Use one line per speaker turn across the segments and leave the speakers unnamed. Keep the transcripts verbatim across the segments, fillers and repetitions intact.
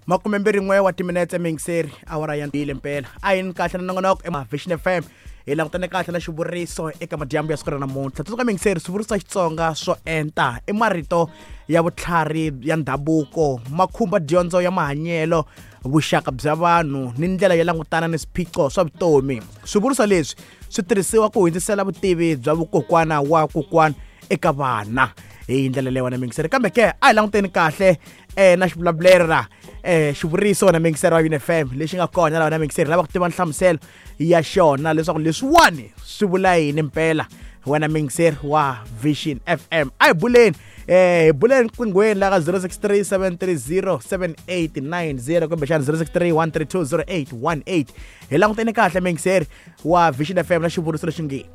Makumembirhi n'we wa timinetse mingiseri awara ya mbili mpela a yini kahle na nongonoko ema Vision F M hi langutane kahle na xivuriso eka madyambu ya siku ra namuntlha. Tsundzuka mingiseri, swivuriso swa Xitsonga swo enta i marito ya vutlhari ya ndhavuko, ma khumba dyondzo ya mahanyelo, vuxaka bya vanhu ni ndlela yo langutana ni swiphiqo swa vutomi. Swivuriso leswi swi tirhisiwa ku hundzisela vutivi bya vukokwana wa kokwana eka vana hi ndlela leyi wena mingiseri. Kambe ke a hi languteni kahle eh na xivulavulelo la eh xivuriso na mingiseri wa Unif M lexi nga kona laha na mingiseri lava ku tiva nhlamuselo ya xona leswaku leswiwani swi vula yini mpela. Wena mingiseri wa Vision F M, a hi buleni eh hi buleni qinghweni la ka zero six three seven three zero seven eight nine zero kumbexana zero six three one three two zero eight one eight. Hi languteni kahle mingiseri wa Vision F M na xivuriso lexi nge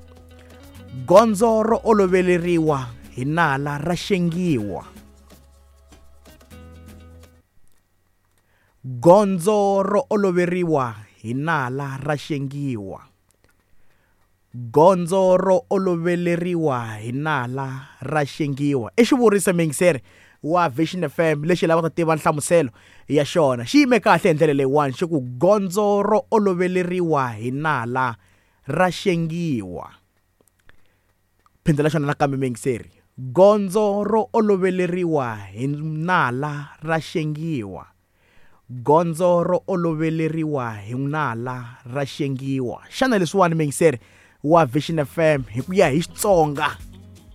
gondzo ro oloveleriwa hi nala ra xengiwa. Gondzo ro oloveriwa hi nala ra xengiwa. Gondzo ro oloveleriwa hi nala ra xengiwa. I xivuriso mingiseri wa Vision F M lexi lavaka ku tiva nhlamuselo ya xona. Xi yime kahle hi ndlela leyiwani xi ku gondzo ro oloveleriwa hi nala ra xengiwa. Phindela xona nakambe mingiseri. Gondzo ro oloveleriwa hi nala ra xengiwa. Gondzo ro oloveleriwa hi nala ra xengiwa. Xana leswiwani mingiseri wa Vision F M hi ku ya hi Xitsonga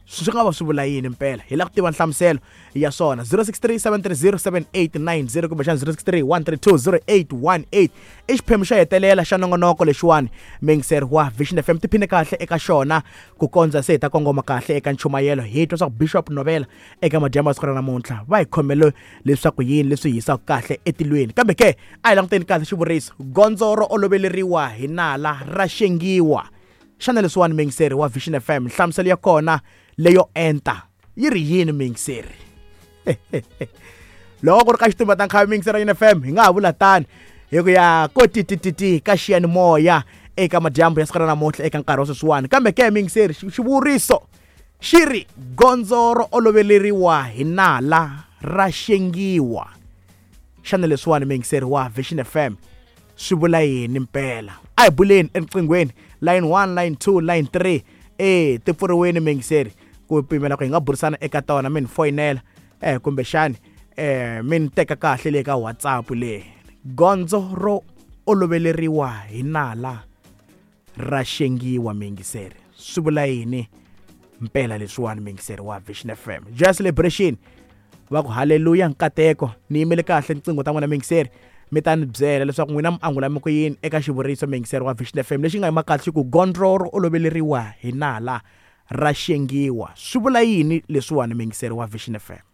swi nga va swi vula yini mpela? Hi lava ku tiva nhlamuselo ya swona. zero six three seven three zero seven eight nine zero kumbexana zero six three one three two zero eight one eight. I xiphemu xo hetelela xa nongonoko lexiwani mingiseri wa Vision F M. Tiphine kahle eka xona ku kondza se hi ta kongoma kahle eka nchumayelo. Hi twa swa ku Bishop Novela eka madyambu ya siku ra namuntlha va hi khomele leswaku yini leswi hisaka kahle etilweni. Kambe ke a hi languteni kahle xivuriso gondzo ro oloveleriwa hi nala ra xengiwa. Xana leswiwani mingiseri wa Vision F M nhlamuselo ya kona leyo enta yi ri yini mingiseri? Loko ku ri ka xitumba ta nkhavi mingiseri ya F M hi nga ha vula tani hi ku ya ko titititi ka xiyanimoya eka madyambu ya siku ra namuntlha eka nkarhi wa sweswiwani. Kambe ke mingiseri, xivuriso xi ri gondzo ro oloveleriwa hi nala ra xengiwa. Xana leswiwani mingiseri wa Vision F M swi vula yini mpela? A hi buleni eriqinghweni line one, line two, line three eh ti pfuriweni mingiseri ku pimela ku hi nga burisana eka tona. Mi ni foyinela eh kumbexani eh mi ni teka kahle le ka WhatsApp le. Gondzo ro oloveleriwa hi nala ra xengiwa mingiseri swi vula yini mpela leswiwani mingiseri wa Vision F M? Joy Celebration va ku haleluya nkateko. Ni yimele kahle tinqingho ta n'wina mingiseri, mi ta ni byela leswaku n'wina mi angula mi ku yini eka xivuriso mingiseri wa Vision F M lexi nga yima kahle xi ku gondzo ro oloveleriwa hi nala ra xengiwa. Swi vula yini leswiwani mingiseri wa Vision F M?